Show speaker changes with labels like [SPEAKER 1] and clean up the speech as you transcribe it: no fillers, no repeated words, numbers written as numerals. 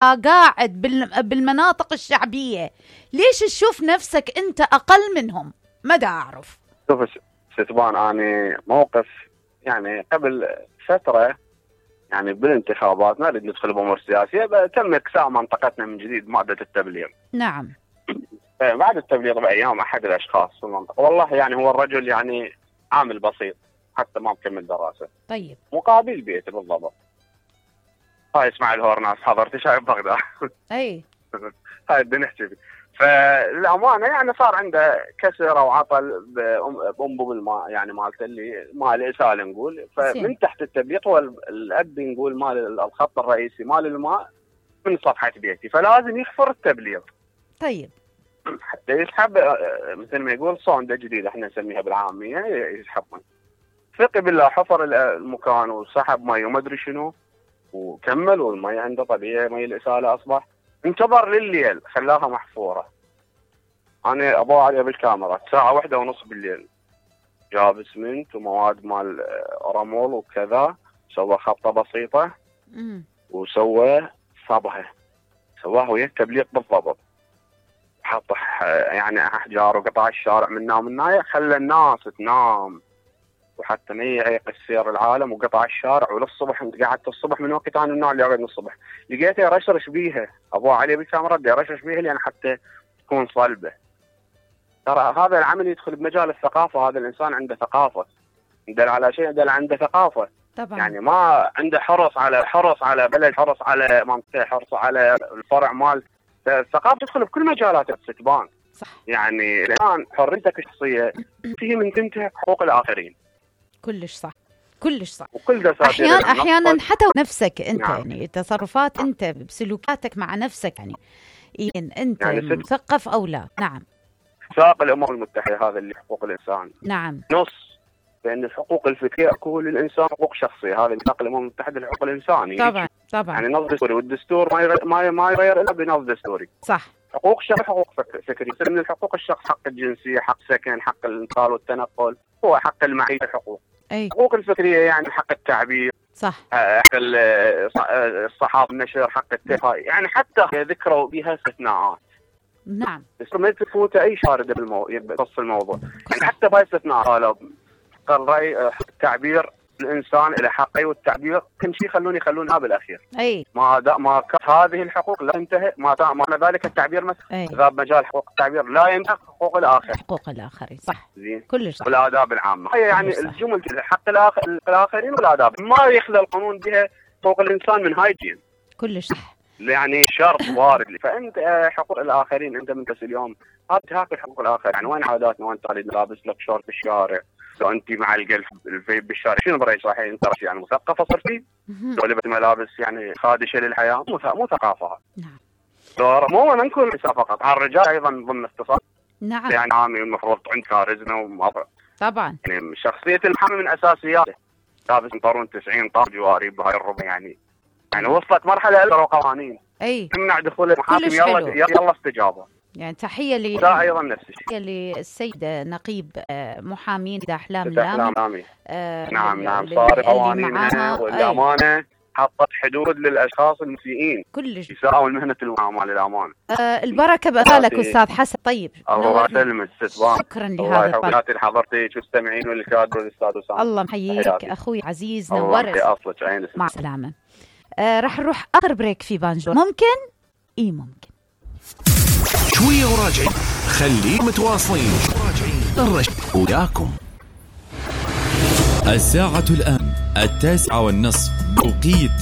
[SPEAKER 1] قاعد بالمناطق الشعبية، ليش تشوف نفسك أنت أقل منهم؟ ماذا أعرف.
[SPEAKER 2] شوف ستبان، أنا موقف يعني قبل فترة يعني بالانتخابات، ما نريد ندخل بأمور سياسية، تم إكساء منطقتنا من جديد مادة التبليغ.
[SPEAKER 1] نعم.
[SPEAKER 2] بعد التبليغ بأيام أحد الأشخاص في المنطقة، والله يعني هو الرجل يعني عامل بسيط حتى ما مكمل دراسة.
[SPEAKER 1] طيب.
[SPEAKER 2] مقابل بيته بالضبط. هاي اسمع الهورناس حضرت شايف بغداد.
[SPEAKER 1] أي.
[SPEAKER 2] هاي بدنا نحكي. فالأمانة يعني صار عنده كسر أو عطل بأنبوب الماء يعني مالته اللي مال الإسالة نقول. فمن تحت التبليغ هو الأب نقول مال الخط الرئيسي مال الماء من صفحة بيتي، فلازم يحفر التبليغ.
[SPEAKER 1] طيب.
[SPEAKER 2] حتى يسحب مثل ما يقول صوندة جديدة احنا نسميها بالعامية، يسحبون. ثقي بالله حفر المكان وسحب مي وما ادري شنو وكمل، والمي عنده طبيعي مي الإسالة أصبح. انتظر لليل خلاها محفورة. أنا أبغى عليها بالكاميرا ساعة 1:30 بالليل، جاب اسمنت ومواد مال رمول وكذا، سوى خطة بسيطة وسوى صبغة، سواها ويا التبليغ بالضبط. حط يعني أحجار وقطع الشارع من نام الناية، خلى الناس تنام وحتى ما يعيق السير العالم، وقطع الشارع. وللصبح انت قعدت الصبح من وقت انا من النوع اللي اقعد من الصبح لقيته يرشرش بيها، ابو علي بالكاميرا يرشرش بيها لان حتى تكون صلبه. ترى هذا العمل يدخل بمجال الثقافه، هذا الانسان عنده ثقافه، يدل على شيء، يدل عنده ثقافه
[SPEAKER 1] طبعا.
[SPEAKER 2] يعني ما عنده حرص على بلد، حرص على منطقه، حرص على الفرع مال الثقافه، تدخل بكل مجالات الستبان.
[SPEAKER 1] صح.
[SPEAKER 2] يعني الان حريتك الشخصيه فيه من تنتهك حقوق الاخرين.
[SPEAKER 1] كلش صح، كلش صح.
[SPEAKER 2] وكل
[SPEAKER 1] احيانا حتى نفسك انت. نعم. يعني تصرفات انت بسلوكاتك مع نفسك يعني انت يعني مثقف او لا. نعم.
[SPEAKER 2] ساق الامم المتحده هذا اللي حقوق الانسان.
[SPEAKER 1] نعم.
[SPEAKER 2] نص بان الحقوق الفكريه اكو للانسان حقوق شخصيه، هذا ميثاق الامم المتحده للحقوق الانساني.
[SPEAKER 1] طبعا طبعا.
[SPEAKER 2] يعني نص دستوري، والدستور ما يغير الا بنص دستوري.
[SPEAKER 1] صح.
[SPEAKER 2] حقوق شخص، حقوق فكريه. من الحقوق الشخص حق الجنسيه، حق سكن، حق الانتقال والتنقل، هو حق المعيشه. حقوق حقوق الفكريه يعني حق التعبير.
[SPEAKER 1] صح.
[SPEAKER 2] حق الصحافه، النشر، حق التفاهم، يعني حتى ذكروا بها استثناءات.
[SPEAKER 1] نعم.
[SPEAKER 2] بس ما تفوت اي شارد بنص الموضوع. يعني حتى باي استثناء قالوا الراي التعبير الانسان له حقي، والتعبير كل شيء يخلونها بالاخير.
[SPEAKER 1] اي
[SPEAKER 2] ما هذه الحقوق لا تنتهي، ما ذلك التعبير مثلا اذا بمجال حقوق التعبير لا ينتهي حقوق الاخر.
[SPEAKER 1] حقوق الاخرين. صح.
[SPEAKER 2] زين.
[SPEAKER 1] كلش صح.
[SPEAKER 2] والاداب العامه هي يعني الجمل حق الاخرين والاداب ما يخلى القانون بها حقوق الانسان من هايجين.
[SPEAKER 1] كلش صح.
[SPEAKER 2] يعني شرط وارد. فانت حقوق الاخرين انت من اليوم هذا تهاك حقوق الاخر. يعني وين عاداتنا؟ وين تريد لابس لك شورت بالشارع؟ لو انت مع القلب الفيب بالشارع شنو برايك؟ صحيح انت يعني مثقفه صرتي؟ لو لبست ملابس يعني خادشه للحياه مو ثقافه.
[SPEAKER 1] نعم.
[SPEAKER 2] مو ما نكون نساء فقط، على الرجال ايضا ضمن اختصاص.
[SPEAKER 1] نعم.
[SPEAKER 2] يعني عامي المفروض عند كاريزما ومظهر.
[SPEAKER 1] طبعا.
[SPEAKER 2] يعني شخصيه المحامي من اساسياته. لابس بنطلون 90 طار جواري بهاي الربع يعني وصلت مرحله الا قوانين تمنع دخول المحاكم. يلا استجابه.
[SPEAKER 1] يعني تحيه
[SPEAKER 2] ايضا نفس الشيء
[SPEAKER 1] للسيد نقيب محامين احلام
[SPEAKER 2] لامي. نعم صار قوانينها والامانه حطت حدود للاشخاص المسيئين
[SPEAKER 1] كلش
[SPEAKER 2] يساوون مهنه المحاماه للامانه.
[SPEAKER 1] البركه بقالك استاذ حسن. طيب
[SPEAKER 2] الله يسلمك ستبان.
[SPEAKER 1] شكرا لهذا
[SPEAKER 2] الطاقه اللي حضرتيك والمستمعين والكادر والاستاذ اسامه.
[SPEAKER 1] الله محييك اخوي عزيز، نورت. مع السلامه. راح نروح اخر بريك في بانجو. ممكن ممكن
[SPEAKER 3] شويه وراجعين، خليكم متواصلين. الرشد وياكم.
[SPEAKER 4] الساعة الآن 9:30 بتوقيت